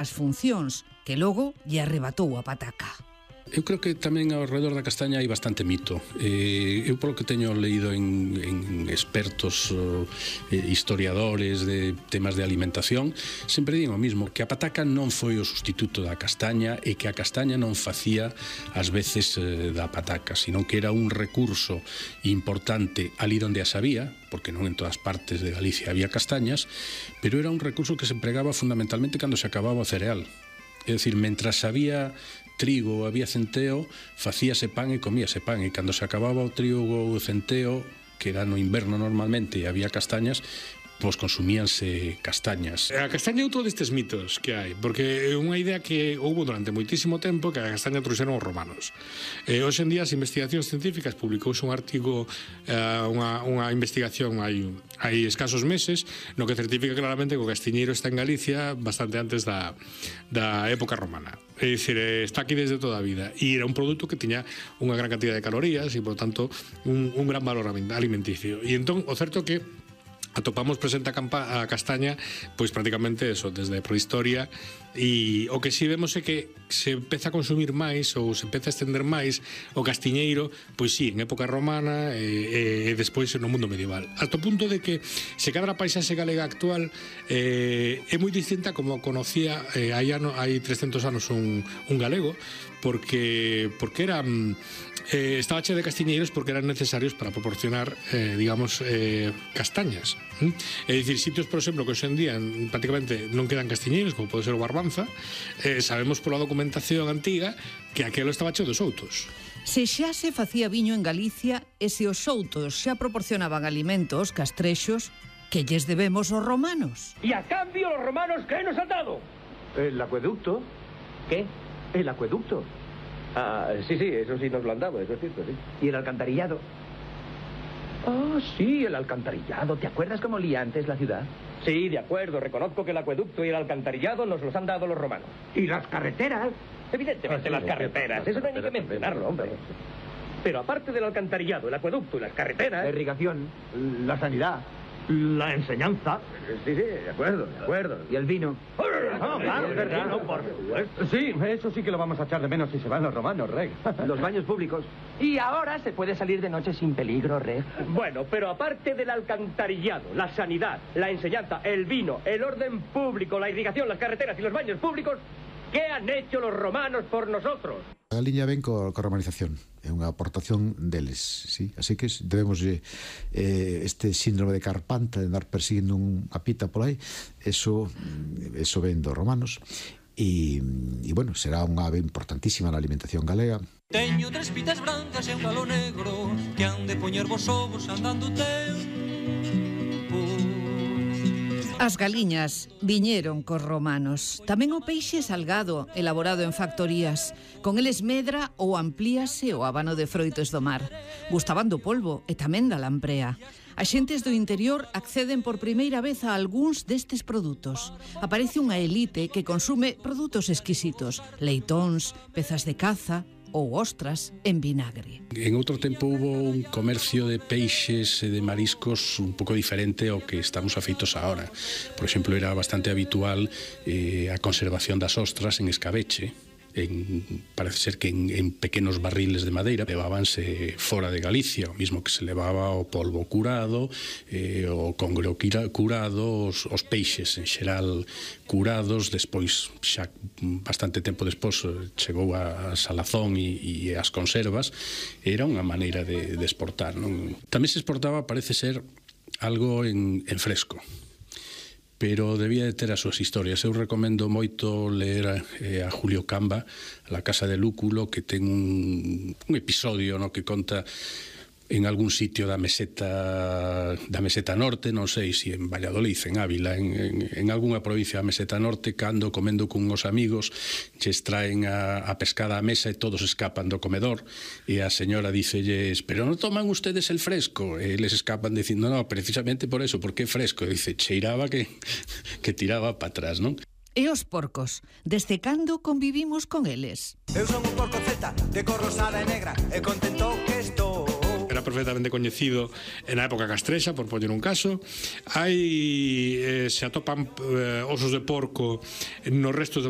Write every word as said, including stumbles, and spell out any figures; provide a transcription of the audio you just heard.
as funcións que logo lle arrebatou a pataca. Eu creo que tamén ao redor da castaña hai bastante mito. Eh, eu polo que teño leído en, en expertos eh, historiadores de temas de alimentación, sempre digo o mismo, que a pataca non foi o sustituto da castaña e que a castaña non facía as veces eh, da pataca, sino que era un recurso importante ali onde as había, porque non en todas partes de Galicia había castañas, pero era un recurso que se empregaba fundamentalmente cando se acababa o cereal. É dicir, mentras había trigo ou había centeo, facíase pan e comíase pan, e cando se acababa o trigo ou o centeo, que era no inverno normalmente e había castañas, pois consumíanse castañas. A castaña é outro destes mitos que hai, porque é unha idea que houve durante moitísimo tempo que a castaña trouxeron os romanos. Eh, hoxe en día as investigacións científicas, publicouse un artigo, eh, unha, unha investigación hai, hai escasos meses, no que certifica claramente que o castiñeiro está en Galicia bastante antes da, da época romana. É dicir, está aquí desde toda a vida e era un produto que tiña unha gran cantidad de calorías e, por tanto, un, un gran valor alimenticio. E entón, o certo que atopamos presente a, campa, a castaña pois prácticamente eso, desde a prehistoria, e o que si vemos é que se empeza a consumir máis ou se empeza a estender máis o castiñeiro, pois si, en época romana e, e despois no mundo medieval, hasta o punto de que se cadra a paisaxe galega actual eh, é moi distinta como conocía eh, hai, ano, hai trescentos anos un, un galego, porque porque era eh, estaba che de castiñeiros porque eran necesarios para proporcionar eh, digamos eh, castañas. ¿Mm? É dicir, sitios, por exemplo, que hoxe en día prácticamente non quedan castiñeiros, como pode ser o Barbanza, eh, sabemos pola documentación antiga que aquelo estaba cheo de soutos. Se xa se facía viño en Galicia e se os soutos xa proporcionaban alimentos, castrexos, que lles debemos os romanos. Y a cambio los romanos, ¿qué nos han dado? ¿El acueducto? ¿Qué? El acueducto. Ah, sí, sí, eso sí nos lo han dado, eso es cierto, sí. ¿Y el alcantarillado? Ah, sí, el alcantarillado. ¿Te acuerdas cómo olía antes la ciudad? Sí, de acuerdo, reconozco que el acueducto y el alcantarillado nos los han dado los romanos. ¿Y las carreteras? Evidentemente Ah, sí, las sí, carreteras, sí, eso no hay ni que sí, mencionarlo, sí, hombre. sí. Pero aparte del alcantarillado, el acueducto y las carreteras... La irrigación, la sanidad, la enseñanza. Sí, sí, de acuerdo, de acuerdo. ¿Y el vino? No, claro, el vino, por supuesto. Sí, eso sí que lo vamos a echar de menos si se van los romanos, Reg. Los baños públicos. Y ahora se puede salir de noche sin peligro, Reg. Bueno, pero aparte del alcantarillado, la sanidad, la enseñanza, el vino, el orden público, la irrigación, las carreteras y los baños públicos, ¿qué han hecho los romanos por nosotros? A liña ven co, co romanización, é unha aportación deles, sí? Así que debemos eh, este síndrome de Carpanta de andar persiguindo unha pita por aí, eso, eso ven dos romanos e, e bueno, será unha ave importantísima na alimentación galega. Teño tres pitas brancas e un galo negro que han de poñer vos ovos andando tempo. As galiñas viñeron cos romanos. Tamén o peixe salgado, elaborado en factorías. Con eles medra ou amplíase o habano de froitos do mar. Gustaban do polvo e tamén da lamprea. As xentes do interior acceden por primeira vez a algúns destes produtos. Aparece unha elite que consume produtos exquisitos, leitóns, pezas de caza ou ostras en vinagre. En outro tempo hubo un comercio de peixes e de mariscos un pouco diferente ao que estamos afeitos agora. Por exemplo, era bastante habitual eh, a conservación das ostras en escabeche. En, parece ser que en, en pequenos barriles de madeira levábanse fora de Galicia, o mismo que se levaba o polvo curado, eh, o congro curado, os, os peixes en xeral curados. Despois, xa bastante tempo despois, chegou a salazón e, e as conservas. Era unha maneira de, de exportar, non? Tamén se exportaba, parece ser, algo en, en fresco, pero debía de ter as súas historias. Eu recomendo moito ler eh, a Julio Camba, La Casa de Lúculo, que ten un, un episodio no que conta en algún sitio da meseta da meseta norte, non sei se en Valladolid, en Ávila, en, en, en algunha provincia da meseta norte, cando comendo con os amigos lles traen a, a pescada á mesa e todos escapan do comedor e a señora dícelles: pero non toman ustedes el fresco? E eles escapan dicindo: no, precisamente por eso, porque é fresco. E dice, cheiraba que, que tiraba para atrás, non? E os porcos, desde cando convivimos con eles? Eu son un porco celta, de cor rosada e negra, e contento que estou. Era era perfectamente coñecido na época castrexa, por poñer un caso. Hai, eh, se atopan eh, osos de porco nos restos de